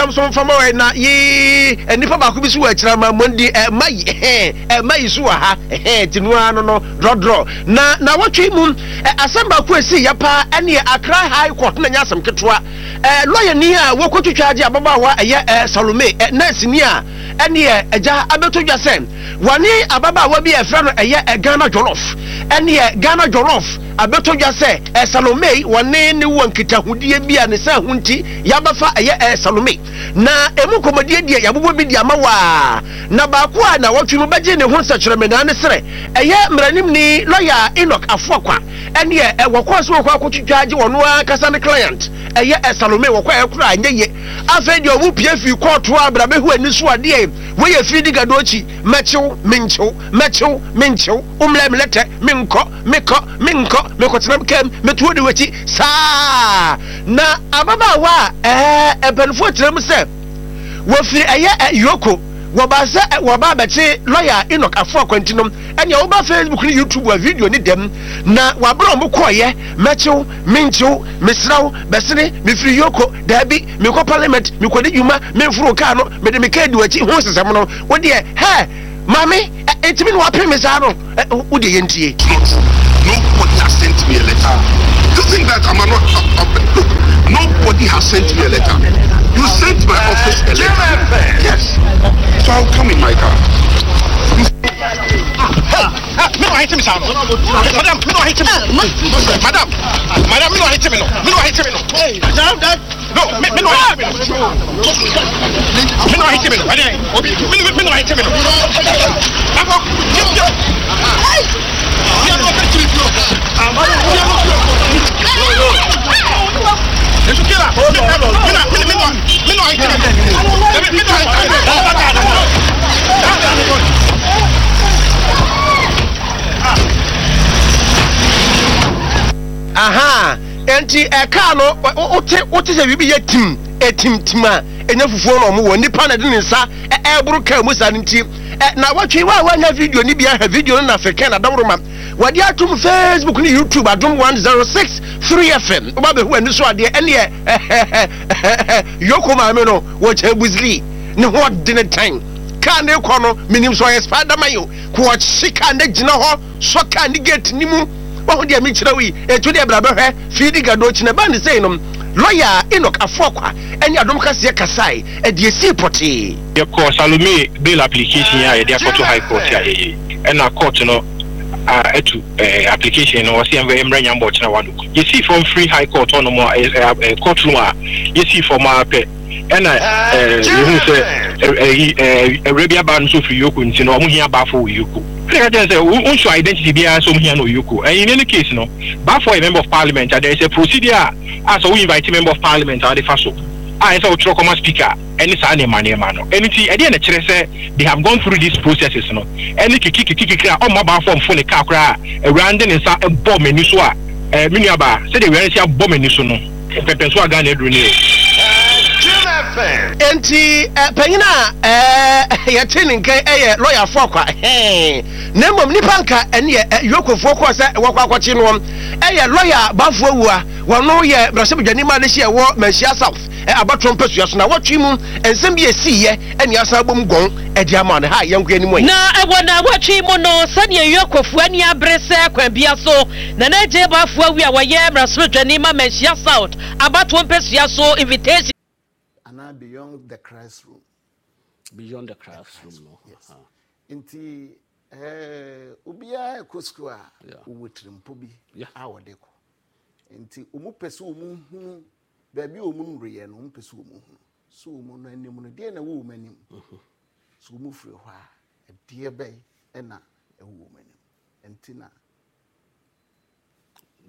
ntɛm so mfa ma wɔ na yee nnipa baako bi so wɔ akyire ama mo di ɛma yi ɛhɛn ɛma yi so wɔ ha ɛhɛn ti no ara no no drɔdrɔ na na wɔtwe mu asɛm baako esi yɛ paa ɛne Accra High Court na nyɛ asɛm ketewa ɛɛ lɔyani a wɔkɔtwitwa agye ababaawa ɛyɛ ɛɛ Salome ɛ nɛɛseni a ɛneɛ agya abɛto dwa sɛ wɔne ababaawa bi a ɛfrɛ no ɛyɛ Ghana Jollof ɛneɛ Ghana Jollof abɛtɔ dwa sɛ ɛ Salome wɔne ne wɔ nkitahodie bi a ne saa ho nti yɛabɛfa ɛyɛ ɛ Salome na ɛmu nkɔmmɔdie deɛ yɛabobɔ bi de ama wo a na baako a nawɔtwe mu bɛgye ne ho nsɛkyerɛmenaa ne serɛ ɛyɛ mmaranimni lɔya Enoch Afoakwa ɛneɛ ɛ wɔkɔɔ sɛ wɔkɔ akɔtwitwa agye wɔn ankasa ne client ɛyɛ ɛ Salome wɔkɔ ɛ koraa ɛnyɛ ye afei deɛ ɔmo pie firi kɔɔto a bra bɛhu ani so adeɛ wei yɛ firi di gadokyi mɛkyew menkyew mɛkyew menkyew womlɛ mlɛtɛ menkɔ mekɔ menkɔ mekɔtena me kam mɛtuo de w'akyi saa na ababaawa a ɛɛ mpanimfoɔ kyerɛ mu sɛ wɔfiri ɛyɛ ɛ yoko wɔba sɛ wɔba abɛkye lɔya Enoch Afo Akwanti no ɛnea woba Facebook ne YouTube a video ne dɛm na wɔabrɛ wɔn kɔɔyɛ mɛkyew menkyew mesrɛ wo bɛsene mefiri yoko daabi mekɔ parliament mekɔdi dwuma memforo kaa no mede me kaa di w'akyi ho nsesɛm no wodeɛ hɛ maame ɛntumi na wapem me saa no wo deɛ yɛntie. Not true. Nobody has sent me a letter. Do you think that I'm not? Look, nobody has sent me a letter. You sent my office a letter. Yes. So I'll come in my car. Me no ahete me saa no. Madam, me no ahete me. Madam, madam, me no ahete me no. Me no ahete me no. No, me me no ahete me no. Me no ahete me no. Ɛdɛ, obi me me me no ahete me no. Akɔ, yɛ yɛ. Yɛ no fɛ tiri fio. Yɛ no fio. Esu kira. Me na me me no me no ahete me no. Me me no ahete me no. Aha, enti ɛkaa no wote wote sɛ biribi yɛ tim etimtim a ɛnyɛ fufuo na ɔmo wɔ nipa na ɛde ne nsa ɛɛboro kaa mu saa no nti na wɔtwe wa a wanya video no bi ahwɛ video no na afekɛn na daworo ma wɔde atom Facebook ne YouTube adom 106.3 FM woba bɛhu ani so adeɛ ɛneɛ yoko maame no wɔkyɛ busili ne ho ɔdene tan kaa ne kɔ no menim sɛ ɔyɛ Spiderman o ko ɔhye kaa ne gyina hɔ sɔ kaa ne gate ne mu wahu deɛ mekyerɛ wo yi ɛtu deɛ bra bɛhwɛ fiidi gado kyina ba ne sei no lɔya Enoch Afoakwa ɛne adom kaseɛ kasae ɛdeɛ sii pɔtee. Yɛkɔɔ Salome bail application yi a yɛde akɔto High Court a yɛyɛ yi, ɛna court no atu application no, wɔse yɛmfa yɛmmrɛ Nyambɔ ɔkyena one o'clock. Yɛsii fam firi High Court hɔnom a, court room a yɛsii fam ara pɛ ɛna yɛhuu sɛ ɛyi awura bi aba no nso firi Yoko nti no wɔn hia Bafo wɔ Yoko. Ɛna ɛka kyerɛ no sɛ wonso identity biara sɛ wɔn hia no wɔ Yoko. And in any case no, Bafo yɛ member of parliament a there is a procedure a a sɛ wo invite member of parliament a wɔde fa so a ɛsɛ sɛ wotwerɛ kɔma speaker ɛne saa nneɛma nneɛma no. Ɛno nti ɛdeɛn na ɛkyerɛ sɛ they have gone through these processes no ɛne kiki kiki kiki a ɔmma Bafo mfo ne car koraa a awuraa no de ne nsa bɔ m'ani so a eh, me nuabaa sɛdeɛ awuraa no si abɔ m'ani so no. Mpɛmpɛnso a Ghana aduru ni o. Enti panyin a yɛte ne nka yɛ lɔya Afoakwa hɛn na mmom nipa nka ɛneɛ Yokofoɔ kɔɔ sɛ wɔkɔ akɔkye noɔ ɛyɛ lɔya Bafo Awua wɔno yɛ mmarahyɛbadwani ma adehye ɛwɔ Manhyia South abatoɔ mpasua so na wɔtwe mu nsɛm bi ɛsiiɛ ɛne asan abom gɔn ɛde ama no ha yɛnko anim ɛ. Na ɛwɔ naawɔtwe mu no sɛdeɛ Yokofoɔ ani abere sɛ kwan bia so Nana Adjei Boafo Awi a ɔyɛ mmarahyɛbadwani ma Manhyia South abatoɔ mpasua so invitation. Anaa beyond the classroom. Beyond the classroom no. Yes. Nti eh, obiara ɛkɔ sukuu a ɔwɔ tirimpo bi a ɔde kɔ. Nti wɔn pɛ sɛ wɔn hunu baabi a wɔn nnuruyɛ no, wɔn pɛ sɛ wɔn hunu. So wɔn no anim no, deɛ na ɛwɔ wɔn anim. So wɔn firi hɔ a, ɛdeɛ bɛn na ɛwɔ wɔn anim. Nti na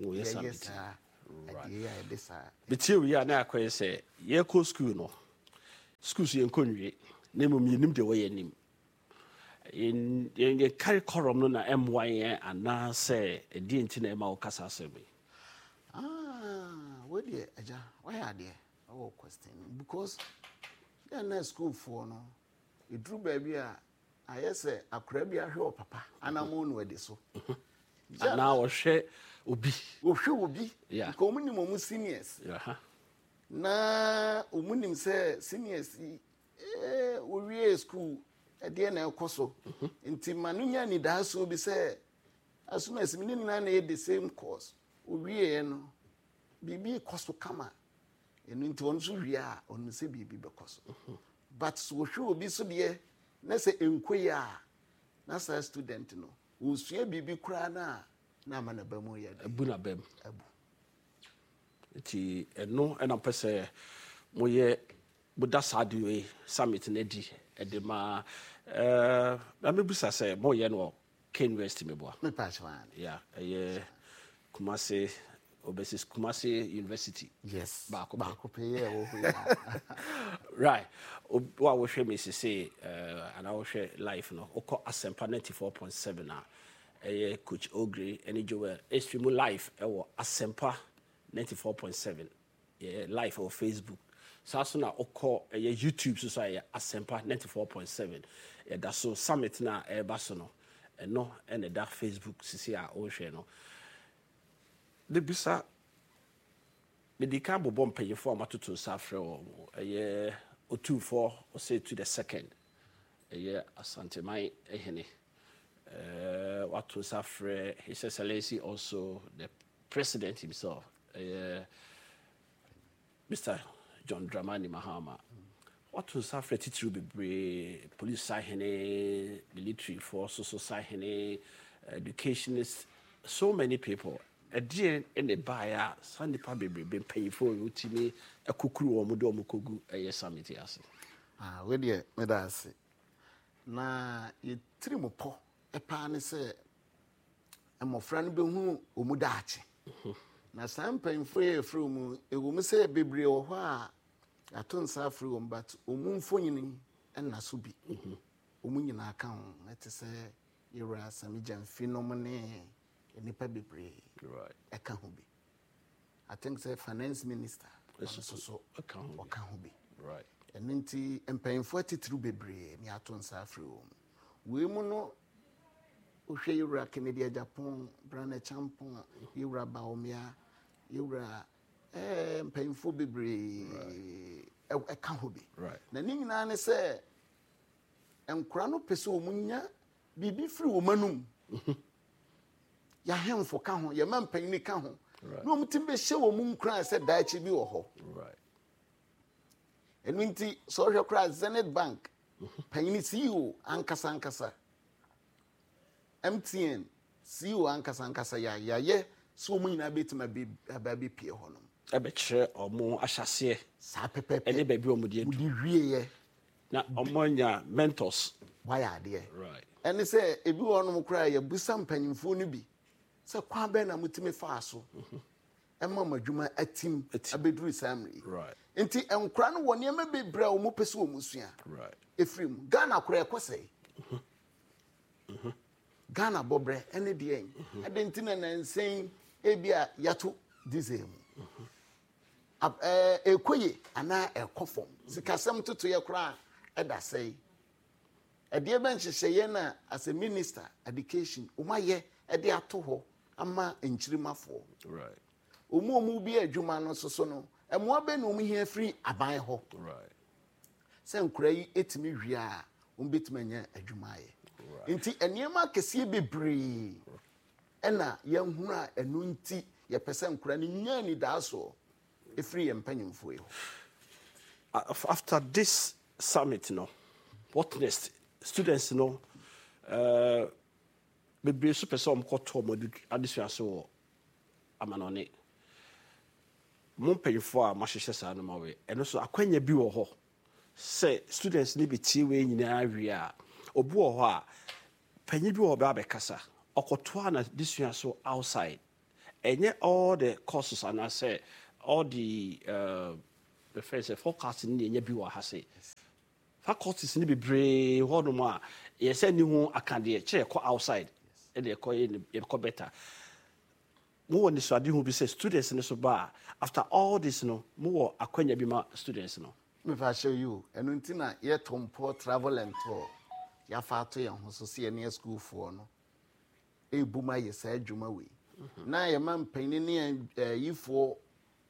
yɛyɛ saa adeɛ yi a yɛde saa. Metie wei a na akɔyɛ sɛ yɛkɔ sukuu no, sukuu so yɛnkɔ nwie na mmom yɛnim deɛ ɛwɔ yɛn anim. Yɛn curriculum no na ɛmmoa yɛn anaasɛ ɛdeɛ nti na ɛma woka saa asɛm yi? Ah, wei deɛ agya wayɛ adeɛ ɛwɔ question because yɛn na sukuufoɔ no ɛduru baabi a Ayɛ sɛ akwadaa bi ahwɛ ɔpapa anammɔn na wadi so. Anaa ɔhwɛ obi. Ɔhwɛ obi. Nka wɔn nim wɔn seniors. Na wɔn nim sɛ seniors yi eh, wɔwie school ɛdeɛ na ɛkɔ so. Nti ma no nya anidaasoɔ bi sɛ asomasi me ne nyinaa na ɛyɛ the same course. Ɔwieɛ no biribi kɔ so kama. Ɛno nti ɔno nso wie a ɔnim sɛ biribi bɛkɔ so. But sɛ ɔhwɛ obi so deɛ na sɛ ɛnkɔ yie a na saa student no ɔsua biribi koraa no a na ama n'aba mu yɛ den. Abu n'aba mu. Abu. Nti ɛno na mpɛ sɛ moyɛ moda saa ade wei summit no adi de ma ɛɛ na mebisa sɛ moyɛ no wɔ K University meboa. Mepa kyɛw ane. Yeah, ɛyɛ Kumasi obɛsi Kumasi University. Yes. Baako pɛ. Baako pɛ yɛ ɛwɔ hɔ yi. Right. Wo a wohwɛ me sese ɛɛ anaa wohwɛ live no wokɔ Asempa 94.7 a ɛyɛ Coach Ogre ɛne Joel ɛstream live ɛwɔ Asempa 94.7 Yɛyɛ live wɔ Facebook. Saa nso na wokɔ ɛyɛ YouTube so so a ɛyɛ Asempa 94.7. Yɛda so summit no a ɛreba so no, ɛno na ɛda Facebook sisi a wohwɛ no. Mebisa, medi kan bobɔ mpanyinfoɔ a matoto nsa afrɛ wɔn. Ɛyɛ Otumfoɔ Osei the second, ɛyɛ Asanteman hene. Ɛɛ wato nsa afrɛ His Excellency also the President himself, ɛyɛ Mister John Dramani Mahama. Wato nsa afrɛ titiriw bebree, police sahene, militaryfoɔ so so sahene, educationists, so many people. Ɛdeɛn na ɛbaeɛ a saa nnipa bebrebe mpanyinfoɔ yi wotumi kukuru wɔn de wɔn kɔgu ɛyɛ summit yi ase? Ah, wei deɛ meda ase. Na yɛ tirimupɔ paa ne sɛ mmɔfra no bɛhunu wɔn daakye. Na saa mpanyinfoɔ yi a yɛfrɛ wɔn yi, ɛwɔ mu sɛ bebree wɔ hɔ a yɛato nsa afrɛ wɔn but wɔn mfonini nna so bi. Wɔn nyinaa ka ho. Ɛte sɛ Yɛwura Sami Gyamfi nom ne nnipa bebree ɛka ho bi. I think sɛ finance minister ɔno nso so ɔka ho bi. Ɛno nti mpanyinfoɔ atitiriw bebree ne ato nsa afrɛ wɔn. Wei mu no wohwɛ yɛwura Kennedy Agyapong, Brane Acheampong, yɛwura Bawumia, yɛwura ɛɛ eh, mpanyinfoɔ bebree ɛka ho bi. Na ne nyinaa ne sɛ nkora no pɛ sɛ wɔn nya biribi firi wɔn anum. Yɛahemfo ka ho, yɛma mpanyin ka ho. Na wɔn ti bɛhyɛ wɔn nkuran sɛ daakye bi wɔ hɔ. Ɛno nti sɛ ɔhwɛ koraa Zenith Bank panyin CEO ankasa ankasa, MTN CEO ankasa ankasa yɛ yɛayɛ sɛ wɔn nyinaa bɛtumi aba abɛpie hɔ nom. Ɛbɛkyerɛ wɔn ahyɛaseɛ. Saa pɛpɛpɛ. Ɛne baabi a wɔde adu. Wɔde wieɛ. Na wɔn anya mentors. Wayɛ adeɛ. Right. Ɛne sɛ ebi wɔ hɔnom koraa yɛbusa mpanyinfoɔ no bi sɛ kwan bɛn na motumi faa so ɛma mo adwuma atim abɛduru saa mmerɛ yi. Nti nkora no wɔ nneɛma bebree a wɔn pɛ sɛ wɔn sua ɛfiri mu. Ghana koraa ɛkɔ sɛe. Ghana bɔbrɛ ɛne deɛn. Adɛn nti na nansa yi ebi a yɛato diesel mu. Ɛkɔ yie anaa ɛkɔ fam. Sikasɛm ntotoeɛ koraa ɛda sɛe. Ɛdeɛ bɛn nhyehyɛeɛ na as a minister education wɔn ayɛ ɛde ato hɔ ama nkyirimafoɔ. Wɔn a wɔn bi adwuma no soso no, mmoa bɛn na wɔn hia firi aban hɔ? Sɛ nkora yi etumi wie a, wɔn bɛtumi anya adwuma ayɛ. Nti nneɛma akɛseɛ bebree ɛna yɛnhunu a ɛno nti yɛpɛ sɛ nkora no nya anidaasoɔ ɛfiri yɛn mpanyinfoɔ yi hɔ. After this summit no, what next? Students no, uh, bebree nso pɛ sɛ wɔkɔto wɔn adesua so wɔ amanɔne. Mo mpanyinfoɔ a moahyehyɛ saa nneɛma wei, ɛno nso akwanya bi wɔ hɔ sɛ students no bɛtie wei nyinaa wie a, obi wɔ hɔ a, panyin bi wɔ hɔ ɔbɛba abɛkasa, ɔkɔtoa n'adesua so outside. Ɛnyɛ all the courses anaasɛ all the uh, bɛfrɛ sɛ faculty no na ɛnya bi wɔ ha se. Faculties no bebree hɔ nom a yɛ sɛ ni ho akadeɛ kyerɛ yɛkɔ outside ɛna yɛkɔ yɛ yɛkɔ better. Mo wɔ nisuadehu bi sɛ students no so ba a after all this no mo wɔ akwanya bi ma students no. Mefa hyɛ yi o, ɛno nti na yɛto mpɔ travel and tour yɛafa ato yɛn ho so sɛ yɛne asukuufoɔ no ɛrebom ayɛ saa adwuma wei. Na yɛma mpanyin ne ayifoɔ.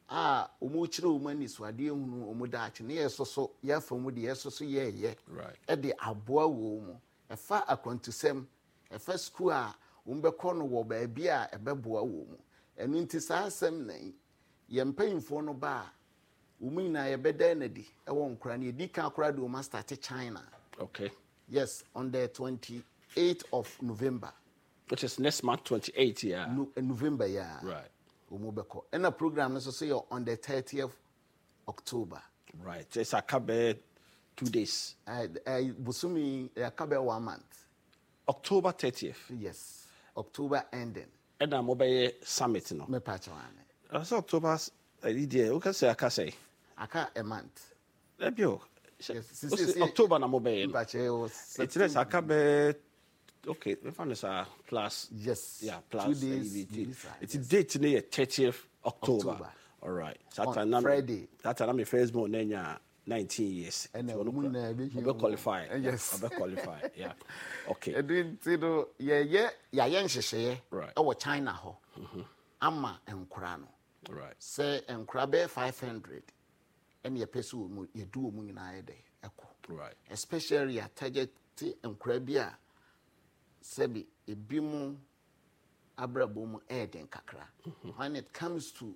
a wɔrekyerɛ wɔn anisoadeɛ hunu wɔn daakye ne yɛsoso yɛafa mu deɛ yɛsoso yɛɛyɛ de aboa wɔn mu. Ɛfa akwantusɛm, ɛfa sukuu a wɔbɛkɔ no wɔ baabi a ɛbɛboa wɔn mu. Ɛno nti saa asɛm na yi, yɛn mpanyinfoɔ no ba a, wɔn nyinaa yɛbɛda no adi wɔ nkora no. Yɛdi kan koraa de wɔn astate China. Okay. Yes, on the 28th of November. Which is next month 28 yeah. No, November yeah. Right. Wɔn bɛkɔ. Ɛna program no nso so yɛ on the 30th October. Right. It's aka bɛyɛ 2 days. Bosomi aka bɛyɛ one month. October 30th. Yes. October ending. Ɛna mo bɛyɛ summit no. Mepa kyɛw ane. Ɛsɛ October ɛyi deɛ o kɛsɛ aka sɛ. Aka a month. Ɛbi o. Yes. October na mo bɛyɛ no. Mepa kyɛw. Eti dɛ sɛ aka bɛyɛ, okay, mefa no saa plus. Yes. Yeah, plus 2 days. Eti date no yɛ 30th October. October. All right. Saa time na Friday. That time na my first born na nya 19 years. Ɛna ɔmo nyinaa ebi ɔbɛ qualify. Ɔbɛ qualify. Yeah. Okay. Ɛdi nti no yɛyɛ yɛayɛ nhyehyɛeɛ ɛwɔ China hɔ ama nkora no. Sɛ nkora bɛyɛ 500 ɛna yɛpɛ sɛ wɔn yɛde wɔn nyinaa yɛ dɛ ɛkɔ. Especially yɛ target nkora bi a sɛbi ebi mu abrabɔ mu ɛyɛ den kakra. When it comes to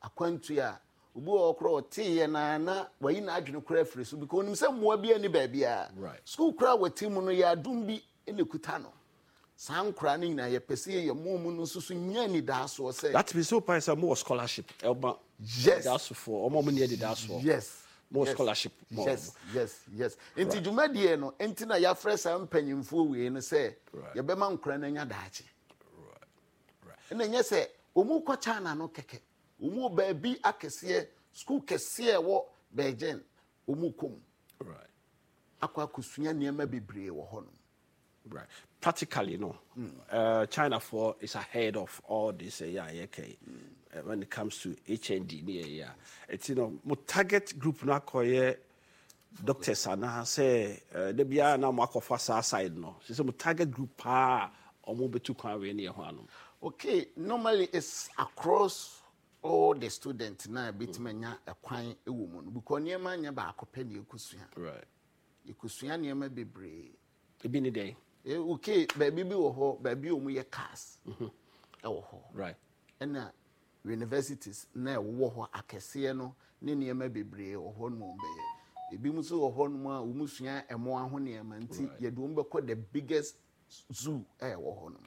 akwantu a, obi wɔ hɔ koraa ɔteeɛ na na wayi n'adwene koraa afiri so because onim sɛ mmoa bi ani baabiara. Sukuu koraa wɔte mu no yɛ adom bi na ekuta no. Saa nkoraa no nyinaa yɛpɛ sɛ yɛyɛ mo mu no nso so nya anidaasoɔ sɛ. That means sɛ wopae sɛ mowɔ scholarship ɛma anidasofoɔ, ɔmo a ɔmo nni anidasoɔ. Yes. Mowɔ scholarship ma ɔmo. Yes. Nti dwumadie no nti na yɛafrɛ saa mpanyinfoɔ wei no sɛ yɛbɛma nkoraa no anya daakye. Ɛna ɛnyɛ sɛ wɔn kɔ China no kɛkɛ, wɔn wɔ baabi akɛseɛ, sukuu kɛseɛ ɛwɔ Beijing, wɔn kɔ mu akɔ akɔsua nneɛma bebree wɔ hɔ nom. Right. Practically, no. China for is ahead of all this. Yeah, okay. When it comes to HND, yeah. It's mo target group na akɔyɛ doctors anaasɛ da biara na mo akɔfa saa side no. Sɛ mo target group paa ɔmo bɛtu kwan wei ne yɛ ho ano. Okay, normally it's across all the students na ebetumi anya ɛkwan wɔ mu no because nneɛma nyɛ baako pɛ na yɛkɔsua. Yɛkɔsua nneɛma bebree. Ebi ne dɛn? Okay, baabi bi wɔ hɔ, baabi a wɔn yɛ cars ɛwɔ hɔ. Ɛna universities na ɛwɔ hɔ akɛseɛ no ne nneɛma bebree wɔ hɔ nom a wɔn bɛyɛ. Ebi nso wɔ hɔ nom a wɔn sua ɛmoa ho nneɛma nti yɛde wɔn bɛkɔ the biggest zoo a ɛwɔ hɔ nom.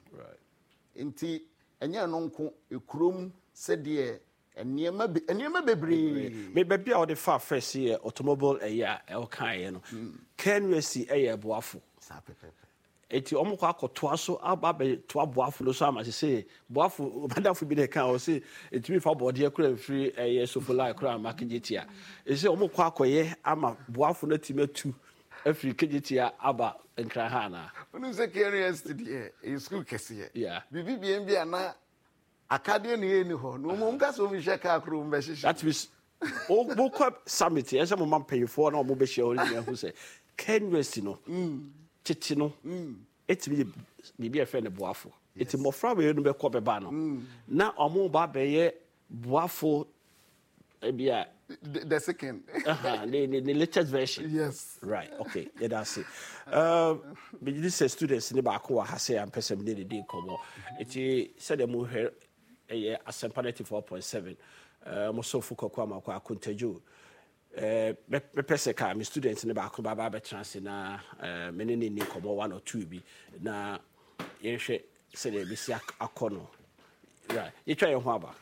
Nti ɛnyɛ ɛno nko, ekurom sɛdeɛ nneɛma be nneɛma bebree. Me baabi a wɔde fa first yɛ automobile ɛyɛ a ɛwɔkaeɛ no. KNUST ɛyɛ ɛboafo. Saa pɛpɛpɛ. Eti wɔn kɔ akɔtoa so aba abɛtoa boafo no so ama sese boafo madamfo bi na ɛka ɔse etumi fa bɔɔdeɛ kora mfiri ɛyɛ sofolai kora ama Kejetia. Ese wɔn kɔ akɔyɛ ama boafo no atumi atu afiri Kejetia aba Nkran ha anaa? Wonim sɛ KNUST deɛ ɛyɛ sukuu kɛseɛ. Biribi bien bi a na akadeɛ na ɛnni hɔ na wɔn ka sɛ wɔn hwɛ kaa koro wɔn bɛhyehyɛ. That means wokɔ summit yɛ sɛ mo ma mpanyinfoɔ na wɔn bɛhyia wɔn nyinaa hu sɛ KNUST no tete no etumi yɛ biribi a yɛfrɛ no boafo. Eti mmɔfra wei no bɛkɔ bɛba no na wɔn ba bɛyɛ boafo ebi a. The second. The latest version. Yes. Right. Okay. Yeah, that's it. Megye di sɛ students ne baako wɔ ha sɛ ampɛ sɛ mene ne di nkɔmmɔ. Eti sɛdeɛ mohwɛ ɛyɛ Asɛmpa 94.7, mo somfo Kwaku Amankwaa Akontadwo. Mɛpɛ sɛ ka me students ne baako ba ba abɛtena ase na me ne ne ni nkɔmmɔ one or two bi na yɛnhwɛ sɛdeɛ ɛbɛsi akɔ no. Right. Yɛtwa yɛn ho aba.